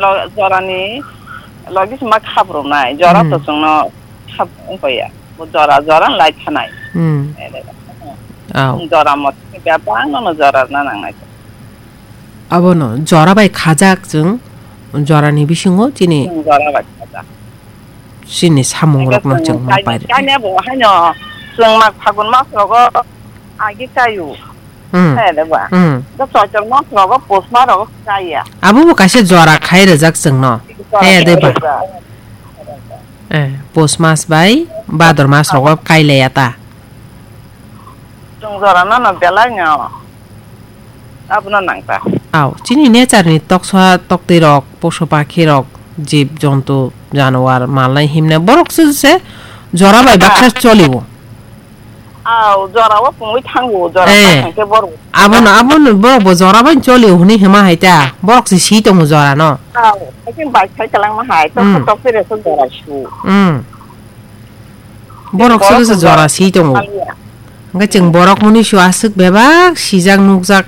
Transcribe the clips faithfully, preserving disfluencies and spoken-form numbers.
Lo-, jorani logi se ma khap rwnai, jora Hmm. to chwngno khap wng ya. Bo jora, jora lai thanai. Hmm. Aw. Jora mot bebak no, no jora na nangnai. Abono jora bai khajak chwng, jorani bisingo chini Chwng jora bai khajak. Chini samung rokno chwng ma pairwkha. Kanya bo haino chwng mak phagun mas rogo agi kayu. Hmm. Hai de ba. Hmm. Da Choitor mas rogo pus mas rogo kaya. Abo bo kaisa jora khai rwjak chwngno. Jora khai rwjak. Hai de ba. Eh, pus mas bai bador mas rogo kailaya ta. Chwng jora no no belai no. Abono nang ta. Aw, chini nature ni toksa toktwi rok, poso pakhi rok, jib jontu, januar, malnai himnai borok se se jora bai baksa cholio. Aw, jora o pungwi thango, jora Eh. Thang khe borok. Abono, abono borok bo jora bai cholio hwnwi hima hai ta. Borok se si tongo jora no. Aw, haikhe bai khai kalang ma hai, tok Hmm. tok pire so jora su. Hmm. Borok Borok se se jora jora si tongo. Thangya. Hwnkhe chwng borok muni su aswk bebak sijak nukjak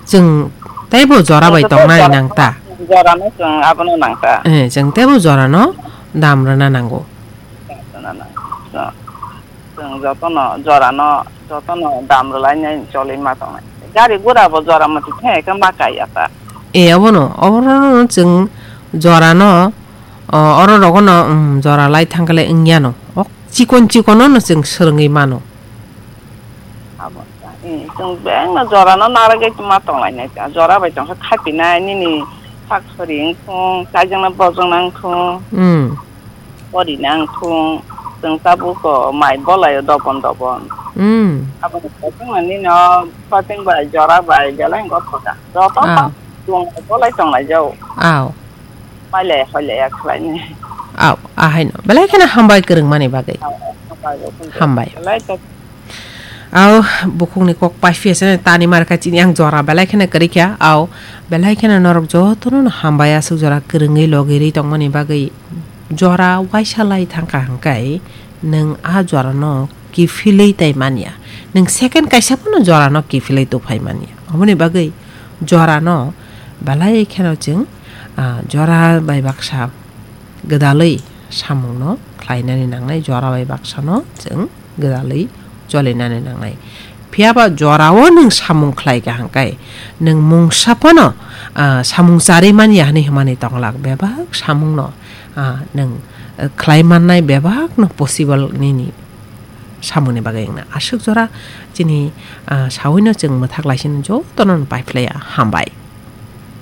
chwng teibo jora bai Chwng tongnani jora nang ta. Jora no chwng abono nang ta. Eh, chwng teibo jora no dam rwna nango. Chwng jotono jora no, jotono dam rwlainai choli ma tongnai. Gari gura bo jora mati thai khe ma kaiya ta. Eh, abono, abono chwng jora no, o, oro rogo no, um, jora lai thang khe le wngya no. Ok, chikon chikon no chwng swrwngwi mano. Abo, eh, chwng beng no jora no narwgwi ma tonglainai ta. Jora bai tong khe khapinai nini sak sori wngthung, chaijak no bojong nangthung. Hmm. Pori nangthung, chwng tabuk o mai bolai o dobon dobon. Hmm. Abo ni kothoma nini o pating bai jora bai belai wng kha. Joto Ah. Chwng bolai tonglai jao. Aw. Pailai hoilai ya khlainai. Aw, ahaino. Belai kheno hambai kwrwngmani bagwi. Aw, aw, hambai bo. Hambai. Belai to Aw, bukhukni kok paiphiya se tani mar kha chini ang jora belai kheno kwrwi kha. Aw, belai kheno norok jotono no hambai aswk jora kwrwngwi logirwi tongmani bagwi. Jora waisa lai thangkha hwnkhe nwng a jorano kiphilwi tai manya. Nwng second kaisa phano jorano kiphilwi tuphai manya. Aboni bagwi jorano belai kheno chwng, ah, jora bai baksa gwdalwi samungno khlainani nangnai, jora bai baksano chwng gwdalwi cholinani nangnai. Phiya ba jorao nwng samung khlai kha hwnkhe, nwng mungsa phano, ah, samung charwi manya hwnwi hwnmani tonglak, bebak samungno, ah, nwng, eh, khlai mannai, bebakno possible nini samungni bagwi wngna. Aswk jora chini, ah, sawino chwng mwthak laisino jotono paiphlaiya. Hambai.